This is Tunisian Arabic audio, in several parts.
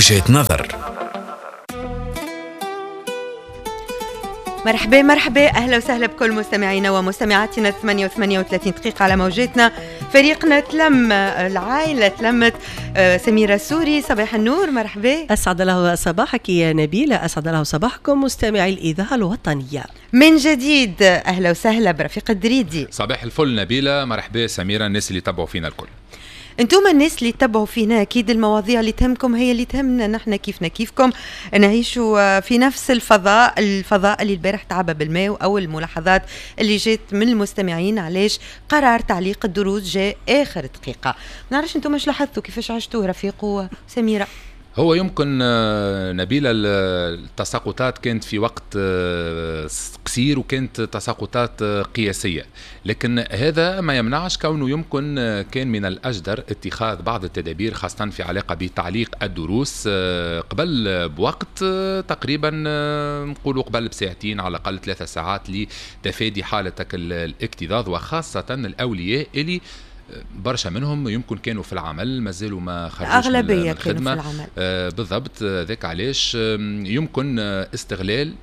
وجهة نظر. مرحبا مرحبا، اهلا وسهلا بكل مستمعينا ومستمعاتنا. 8:38 دقيقة على موجاتنا. فريقنا تلم، العائلة تلمت. سميرة سوري، صباح النور، مرحبا. اسعد الله صباحك يا نبيلة، اسعد الله صباحكم مستمعي الاذاعة الوطنية. من جديد اهلا وسهلا برفيق الدريدي. صباح الفل نبيلة، مرحبا سميرة، الناس اللي تبعوا فينا الكل. انتم الناس اللي تبعوا فينا اكيد المواضيع اللي تهمكم هي اللي تهمنا نحن، كيفنا كيفكم نعيشوا في نفس الفضاء، الفضاء اللي البارح تعبى بالماء، او الملاحظات اللي جات من المستمعين علاش قرار تعليق الدروس جاء اخر دقيقة. ما نعرفش انتم اش لاحظتوا، كيفاش عشتوه رفيق وسميره؟ هو يمكن نبيلة التساقطات كانت في وقت قصير وكانت تساقطات قياسية، لكن هذا ما يمنعش كونه يمكن كان من الأجدر اتخاذ بعض التدابير خاصة في علاقة بتعليق الدروس قبل بوقت تقريبا، نقولوا قبل بساعتين على الأقل 3 ساعات لتفادي حالة الاكتظاظ، وخاصة الأولياء اللي برشا منهم يمكن كانوا في العمل مازالوا ما خرجوش من الخدمة، كانوا في العمل. بالضبط، ذاك علاش يمكن استغلال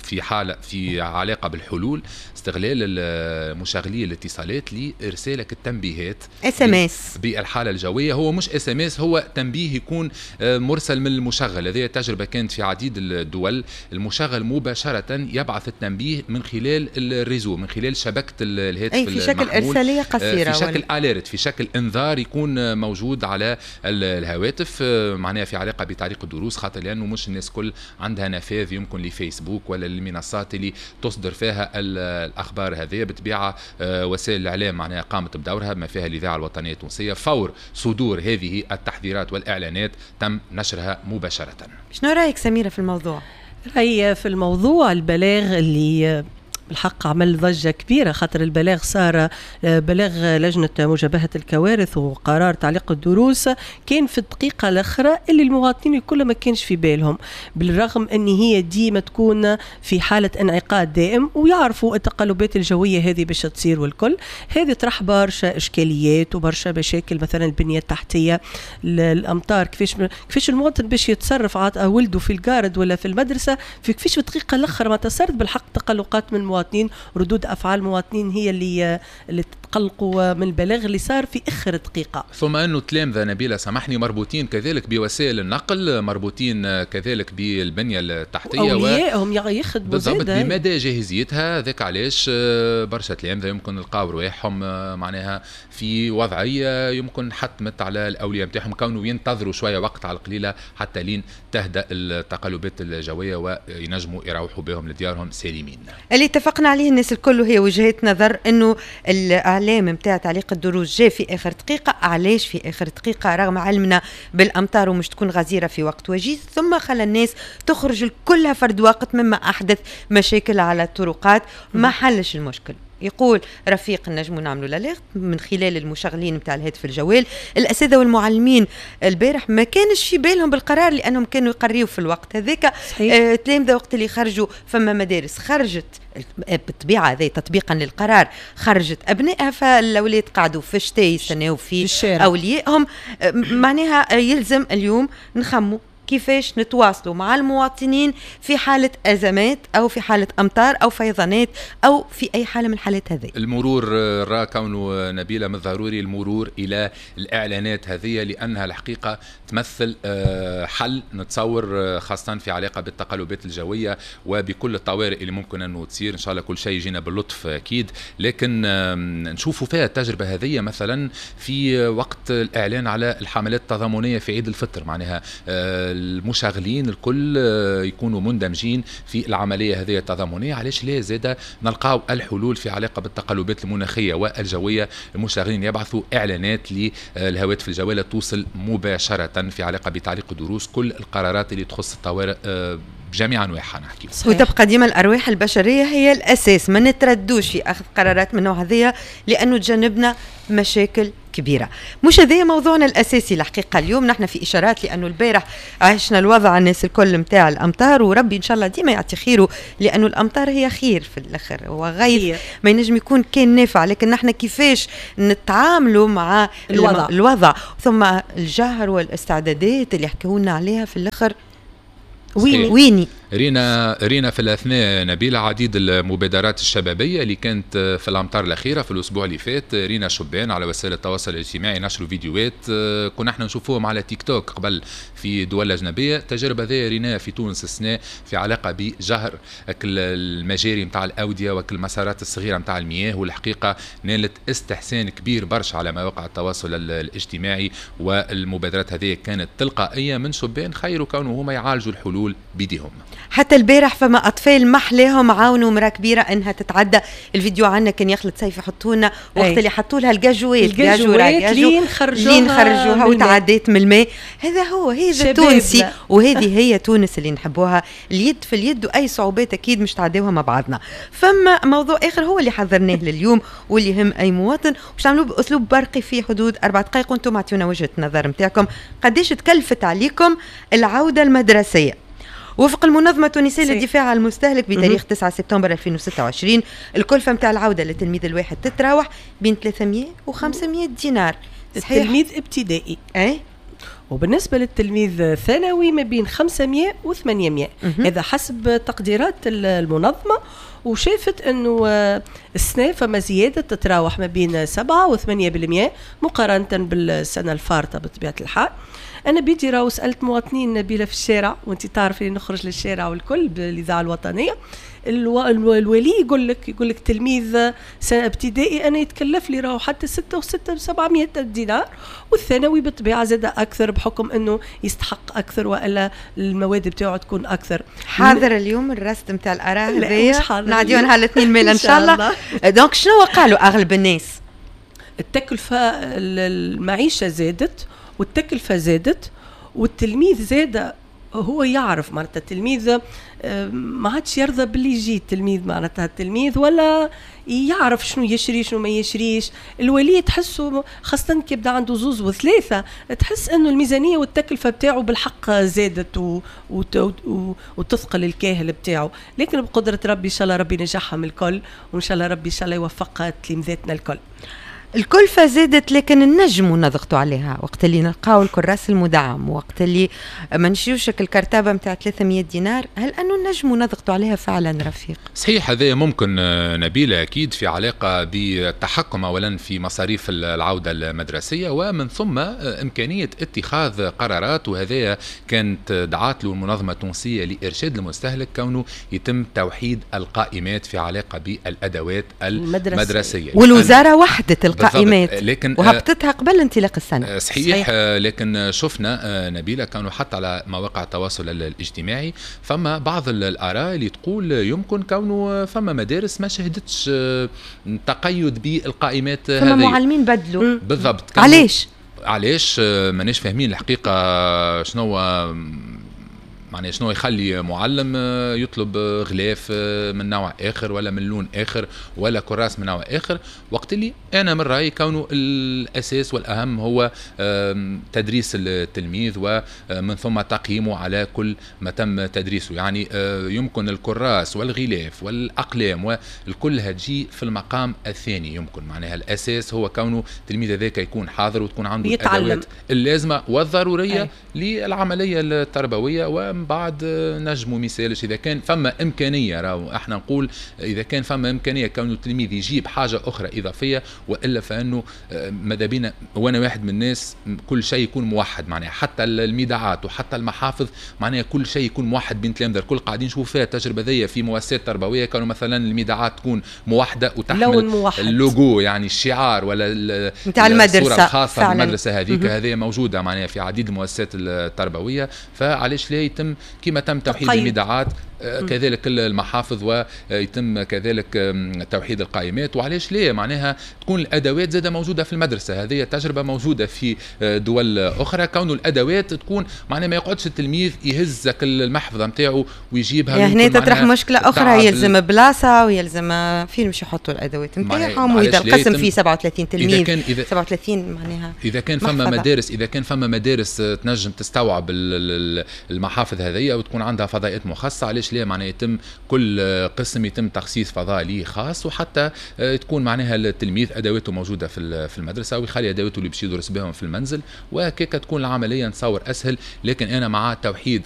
في حالة في علاقة بالحلول، استغلال مشغلي الاتصالات لإرسالك التنبيهات SMS بالحالة الجوية. هو مش SMS، هو تنبيه يكون مرسل من المشغل. هذه التجربة كانت في عديد الدول، المشغل مباشرة يبعث التنبيه من خلال ال réseau، من خلال شبكة الهاتف أي في شكل إرسالية قصيرة، في شكل alerte، في شكل انذار يكون موجود على الهواتف، معناها في علاقة بتعليق الدروس، خاطر لأنه مش الناس كل عندها نفاذ يمكن لفيسبوك ولا المنصات اللي تصدر فيها الاخبار هذه. بالطبيعة وسائل الاعلام معناها قامت بدورها بما فيها الاذاعة الوطنية التونسية، فور صدور هذه التحذيرات والاعلانات تم نشرها مباشرة. شنو رايك سميرة في الموضوع؟ رايي في الموضوع البلاغ اللي الحق عمل ضجة كبيرة، خاطر البلاغ صار بلاغ لجنة مجابهة الكوارث وقرار تعليق الدروس كان في الدقيقة الأخرى اللي المواطنين الكل ما كانش في بالهم، بالرغم أن هي ديما تكون في حالة انعقاد دائم ويعرفوا التقلبات الجوية هذه باش تصير والكل. هذه طرح برشا إشكاليات وبرشا مشاكل، مثلا البنية التحتية، الأمطار، كيفاش المواطن باش يتصرف عاد ولده في الجارد ولا في المدرسة، في كيفاش في الدقيقة الأخرى ما تصرت بالحق تقلقات من المواطنين، ردود افعال المواطنين هي اللي تقلقوا من البلاغ اللي صار في اخر دقيقة. ثم انه تلامذه نبيلة سامحني مربوطين كذلك بوسائل النقل، مربوطين كذلك بالبنيه التحتية، اوليائهم يخدموا بالضبط بمدى جاهزيتها. ذاك علاش برشا تلامذه يمكن لقاو رواحهم معناها في وضعية يمكن حتمت على الاولياء نتاعهم كونوا ينتظروا شوية وقت على القليلة حتى لين تهدأ التقلبات الجوية وينجموا يروحوا بهم لديارهم سالمين. اللي اتفقنا عليه الناس الكل وهي وجهات نظر انه الاعلام نتاع تعليق الدروس جاء في اخر دقيقة. علاش في اخر دقيقة رغم علمنا بالامطار ومش تكون غزيرة في وقت وجيز، ثم خلى الناس تخرج كلها فرد وقت مما احدث مشاكل على الطرقات، ما حلش المشكل. يقول رفيق نجموا نعملوا l'alerte من خلال المشغلين نتاع الهاتف الجوال. الاساتذة والمعلمين البارح ما كانش في بالهم بالقرار لانهم كانوا يقريوا في الوقت هذاك. تلامذه وقت اللي خرجوا فما مدارس خرجت بالطبيعة هذا تطبيقا للقرار، خرجت ابنائها، فالاولاد قعدوا في الشتاء يستناو في اوليائهم. معناها يلزم اليوم نخموا كيفاش نتواصلوا مع المواطنين في حالة أزمات أو في حالة أمطار أو فيضانات أو في أي حالة من الحالات هذه. المرور را كونه نبيلة من الضروري المرور إلى الإعلانات هذه، لأنها الحقيقة تمثل حل نتصور خاصة في علاقة بالتقلبات الجوية وبكل الطوارئ اللي ممكن أنه تصير. إن شاء الله كل شيء يجينا باللطف أكيد، لكن نشوفوا فيها التجربة هذه مثلا في وقت الإعلان على الحملات التضامنية في عيد الفطر، معناها المشغلين الكل يكونوا مندمجين في العملية هذه التضامنية. علاش لا زاد نلقاو الحلول في علاقة بالتقلبات المناخية والجوية، المشغلين يبعثوا إعلانات للهواتف الجوالة توصل مباشرة في علاقة بتعليق الدروس، كل القرارات اللي تخص الطوارئ بجميع أنواعها نحكي. وتبقى ديما الأرواح البشرية هي الأساس، ما نتردوش في أخذ قرارات من النوع هذيا لأنه تجنبنا مشاكل كبيرة. مش هذا موضوعنا الاساسي الحقيقة اليوم، نحن في اشارات لانه البارح عشنا الوضع الناس الكل نتاع الامطار، وربي ان شاء الله ديما يعطي خيره لانه الامطار هي خير في الاخر، هو غيث ما ينجم يكون كان نافع، لكن نحن كيفاش نتعاملوا مع الوضع ثم الجهر والاستعدادات اللي حكوا لنا عليها في الاخر. ويني رينا في الاثناء نبيلة عديد المبادرات الشبابية اللي كانت في الامطار الاخيرة في الاسبوع اللي فات. رينا شبان على وسائل التواصل الاجتماعي نشروا فيديوهات كنا احنا نشوفوهم على تيك توك قبل في دول اجنبية. التجربة هذه ريناها في تونس السنة في علاقة بجهر المجاري نتاع الاودية وكل المسارات الصغيرة نتاع المياه، والحقيقة نالت استحسان كبير برشا على مواقع التواصل الاجتماعي. والمبادرات هذه كانت تلقائية من شبان خيروا كونوا هما يعالجوا الحلول بيديهم. حتى البارح فما اطفال محلاهم عاونوا مراة كبيرة انها تتعدى. الفيديو عندنا كان يخلط سيف يحطوا لنا وقت اللي حطوا لها الجاجوات لين خرجوها وتعديت من الماء. هذا هو، هذا تونسي وهذه هي تونس اللي نحبوها، اليد في اليد، واي صعوبات اكيد مش تعديوها مع بعضنا. فما موضوع اخر هو اللي حضرناه لليوم واللي يهم اي مواطن، باش نعملوه باسلوب برقي في حدود 4 دقائق، وانتم اعطيونا وجهه النظر نتاعكم قداش تكلفت عليكم العودة المدرسية. وفق المنظمة التونسية للدفاع عن المستهلك بتاريخ 9 سبتمبر 2026 الكلفة متاع العودة للتلميذ الواحد تتراوح بين 300 و 500 دينار. صحيح. التلميذ ابتدائي. أي. وبالنسبة للتلميذ الثانوي ما بين 500 و 800. هذا حسب تقديرات المنظمة، وشافت انه السنة فما زيادة تتراوح ما بين 7 و 8% مقارنة بالسنة الفارطة بطبيعة الحال. انا بيدي راهو سالت مواطنين نبيلة في الشارع، وانت تعرفي نخرج للشارع والكل بالاذاعه الوطنية، الولي يقول لك تلميذ سنة ابتدائي انا يتكلف لي راهو حتى 6 و6 700 دينار، والثانوي بالطبيعة زاد اكثر بحكم انه يستحق اكثر والا المواد بتاعه تكون اكثر. حاضر اليوم الرصد نتاع الاراء هذايا نعديو نهار الاثنين ميل ان شاء الله. donc شنو قالوا اغلب الناس؟ التكلفة المعيشة زادت والتكلفه زادت والتلميذ زاد، هو يعرف معناتها التلميذ ما عادش يرضى باللي يجي التلميذ، معناتها التلميذ ولا يعرف شنو يشري شنو ما يشريش. الولي تحسه خاصة كي يبدا عنده 2 و3 تحس انه الميزانية والتكلفة بتاعه بالحق زادت وتثقل الكاهل بتاعه. لكن بقدرة ربي ان شاء الله ربي ينجحهم الكل، وان شاء الله ربي ان شاء الله يوفق تلامذتنا الكل. الكلفة زادت لكن النجم نضغطوا عليها وقت اللي نلقاو الكراس المدعم، وقت اللي ما نشريوش الكرتابة نتاع 300 دينار، هل أنه النجم نضغطوا عليها فعلا رفيق؟ صحيح، هذا ممكن نبيلة أكيد في علاقة بالتحكم أولا في مصاريف العودة المدرسية، ومن ثم إمكانية اتخاذ قرارات، وهذا كانت دعات له المنظمة التونسية لإرشاد المستهلك كونه يتم توحيد القائمات في علاقة بالأدوات المدرسية. والوزارة وحدت القائمات لكن وهبطتها قبل انطلاق السنة. صحيح. لكن شفنا نبيلة كانوا حتى على مواقع التواصل الاجتماعي فما بعض الآراء اللي تقول يمكن كونه فما مدارس ما شهدتش تقيد بالقائمات هذه، فما معلمين بدلوا. بالضبط. علاش ماناش فاهمين الحقيقة شنو معناها شنو يخلي معلم يطلب غلاف من نوع اخر ولا من لون اخر ولا كراس من نوع اخر، وقت اللي انا من رايي كونه الاساس والاهم هو تدريس التلميذ ومن ثم تقييمه على كل ما تم تدريسه. يعني يمكن الكراس والغلاف والاقلام والكل تجي في المقام الثاني، يمكن معناها الاساس هو كونه التلميذ هذاك يكون حاضر وتكون عنده الادوات اللازمة والضروريه للعملية التربوية، ومن بعد نجموا مثالش اذا كان فما امكانية. راهو احنا نقول اذا كان فما امكانية كون التلميذ يجيب حاجة اخرى اضافية، والا فانه ماذا بينا، وانا واحد من الناس كل شيء يكون موحد، معناها حتى الميدعات وحتى المحافظ معناها كل شيء يكون موحد بين تلامذه الكل. قاعدين نشوفوا فيها التجربة ذي في مؤسسات تربوية، كانوا مثلا الميدعات تكون موحدة وتحمل اللوجو يعني الشعار ولا نتاع المدرسة الخاصة بالمدرسة هذيك، هذه موجودة معناها في عديد المؤسسات التربوية. فعلاش لا يتم كما تم توحيد الميدعات كذلك المحافظ، ويتم كذلك توحيد القائمات. وعلاش ليه معناها تكون الادوات زاده موجودة في المدرسه؟ هذه تجربه موجودة في دول اخرى، كون الادوات تكون معناها ما يقعدش التلميذ يهز المحفظة نتاعو ويجيبها. يعني هنا تطرح مشكلة اخرى، يلزم بلاصة ويلزم فين باش يحطوا الادوات نتاعهم، واذا القسم فيه 37 تلميذ، إذا كان إذا 37 معناها. اذا كان فما مدارس تنجم تستوعب المحافظ هذيا وتكون عندها فضاءات مخصصه، علاش لا؟ معناها يتم كل قسم يتم تخصيص فضاء ليه خاص، وحتى تكون معناها التلميذ ادواته موجودة في المدرسة ويخلي ادواته اللي باش يدرس بهم في المنزل، وهكاك تكون العملية نتصور اسهل. لكن انا مع توحيد.